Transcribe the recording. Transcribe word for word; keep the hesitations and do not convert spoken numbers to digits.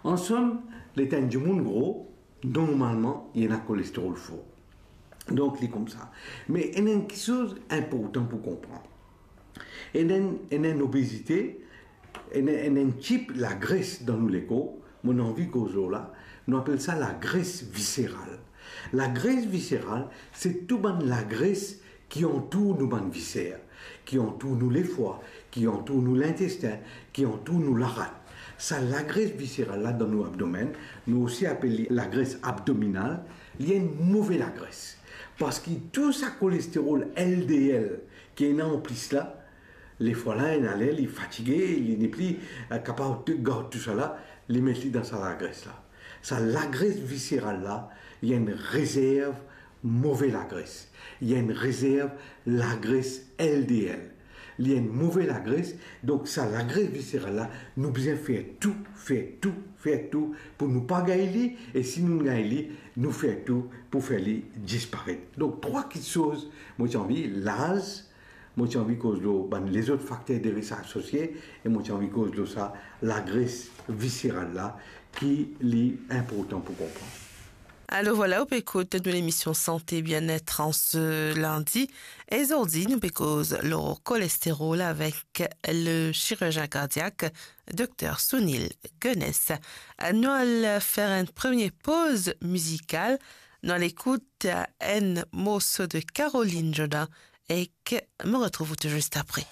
Ansom, letan enn dimoun gro, normalman, li ena kolesterol for. Donk, li koumsa. Me ena enn kiksoz inportan pou konpran. Ena enn, ena enn obezite, ena, ena enn tip lagres dan nou lekor, mo anvi koz lor la, nou apel sa lagres viseral. Lagres viseral, se tou bann lagres ki antour nou bann viser, ki antour nou lefwa, ki antour nou lintestin, ki antour nou larat. Sa lagres viseral la dan nou abdomenn, nou osi apel li lagres abdominal, li enn move lagres. Parski tou sa kolesterol L D L ki ena anplis la, lefwa la, ena ler li fatige, li nepli, eh, kapav gard tousala, li met li dan sa lagres la. Sa lagres viseral la, li enn rezerv move lagres. Li enn rezerv lagres L D L. Li enn move lagres, donk sa lagres viseral la, nou bizin fer tou, fer tou, fer tou pou nou pa gagn li, e si nou gagn li, nou fer tou pou fer li disparet. Donk, trwa kiksoz, mo ti anvi, laz, mo ti anvi koz lor bann lezot fakter de risk asosie, e mo ti anvi koz lor sa lagres viseral la, ki li inportan pou konpran. Alor vwala, ou pe ekout nou lemision Santé Bien-être an se lindi, e zordi nou pe koz lor kolesterol avek le chirizien kardiak, Dokter Sunil Gunness. Nou al fer enn premie poz mizikal, nou al ekout enn morso de Caroline Jodin, ek mo retrouv ou tou zis apre.